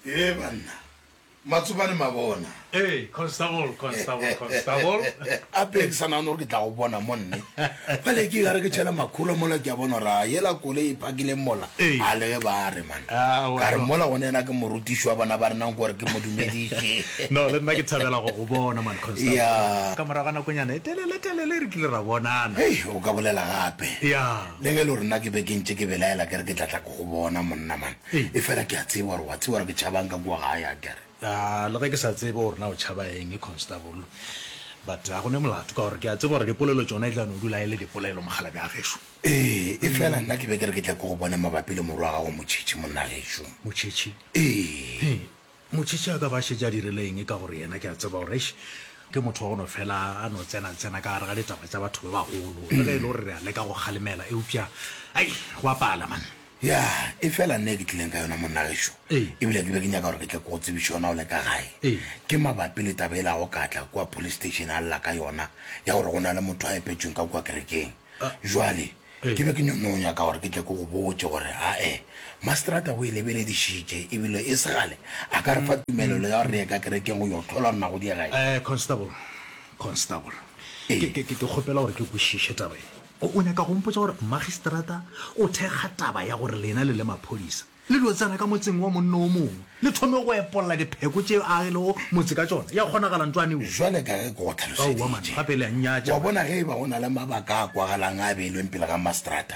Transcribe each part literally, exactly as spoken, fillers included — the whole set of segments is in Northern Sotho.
Ee banna, Matsobane mabona. Ee, Constable, Constable, Constable. Ape ke sa nagane gore ke tla go bona mo nne. Bjale ke gare ke tšhela makhura mola ke a bona gore a yela koloi e phakileng mola. A le ge ba re man. Ka re mola gone yena ke morutiši wa bana ba rena nko gore ke mo dumediše. No, le nna ke thabela go go bona man, Constable. Ya. Ka morago ga nakonyana e telele telele re kile ra bonana. Hei, o ka bolela gape. Ya. Le ge e le gore nna ke be ke ntše ke belaela ke re ke tla tla ke go bona monna man. Efela ke a tseba gore wa tseba gore ke tšhabang ka kua gae, a ke re. A le ge ke sa tsebe gore na o tšhaba eng, Constable, but ga go ne molato ka gore ke a tseba gore dipolelo tšona e tla no dula e le dipolelo, mokgalabje wa gešo. Ee, efela nna ke be ke re ke tle ke go bone mabapi le morwa wa gago Motšhitšhi, monna gešo. Motšhitšhi? Ee. Hee, Motšhitšhi a ka ba a šetše a dirile eng ka gore yena ke a tseba gore eish, ke motho wa go no fela a no tsena-tsena ka gare ga ditaba tša batho ba bagolo, le ge e le gore re a leka go kgalemela eupša ai, go a pala man. Ya, efela nna e ke tlileng ka yona monna gešo, Ee. ebile ke be ke nyaka gore ke tle ke go tsebiše yona o le ka gae, Ee. ke mabapi le taba yela go ka tla kua police station a lla ka yona ya gore go na le motho a epetšweng ka kua kerekeng. Jwale, Ee. ke be ke no nyaka gore ke tle ke go botše gore ae, maseterata o e lebeledišitše ebile e se gale a ka re fa tumelelo ya gore re ye ka kerekeng go yo hlola gore na go diega eng. Eh, Constable, Constable, Ee. ke, ke, ke, ke kgopela gore ke kwešiše taba ye. O, o nyaka go mpotša gore magistrata o thekga taba ya gore lena le le maphodisa le dio tsena ka motseng wa monna o mongwe le thome go epolla dipheko tše a agilego motse ka tšona? Ya kgonagala ntwane wo? Jwale ka ge ke go Aowa man, hlaloseditše, gape le a nnyatša wa man. bona ge e ba go na le mabaka a kwagalang a a beilweng pele ga mastrata,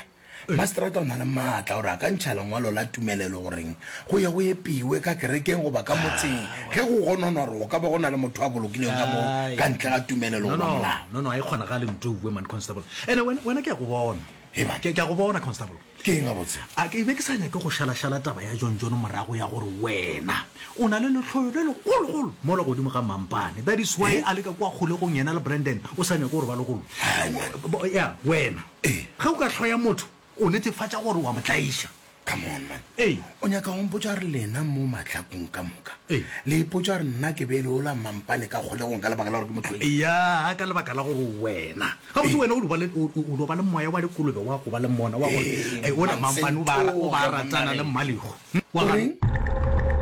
Mastrata o na le maatla gore a ka ntšha lengwalo la tumelelo goreng go ye go epiwe ka kerekeng goba ka motseng ge go gononwa gore go ka ba go na le motho a bolokilweng ka moo ka ntle ga tumelelo No, goba no, molao. no, no, a e kgonagale ntouwe man, Constable. Ene wena, wena ke a go bona. Hei man. Ke, ke a go bona, Constable. Ke eng gabotse? A ke be ke sa nyake go šalašala taba ya John John morago ya gore wena o na le lehloyo le legologolo mola godimo ga Mampane. That is why a le ka kua kgolegong yena le Brandon o sa nyake gore ba lokollwe. Hai man. Ya, wena. Ee. Ge o ka hloya motho, o netefatša gore o a mo tlaiša. Come on man. Ee. O nyaka go mpotša gore lena mo mahlakong ka moka Ee. le ipotša gore nna ke be le ola Mampane ka kgolegong ka lebaka la gore ke mo hloile? Eya, ka lebaka la gore wena. Gabotse wena o dio ba le, o, o dio ba le moya wa dikolobe wa go ba le mona wa gore Ee, ola Mampane o ba, o ba Mantshenthoge ratana le monna ge. Mmalego. Wa O gana. reng?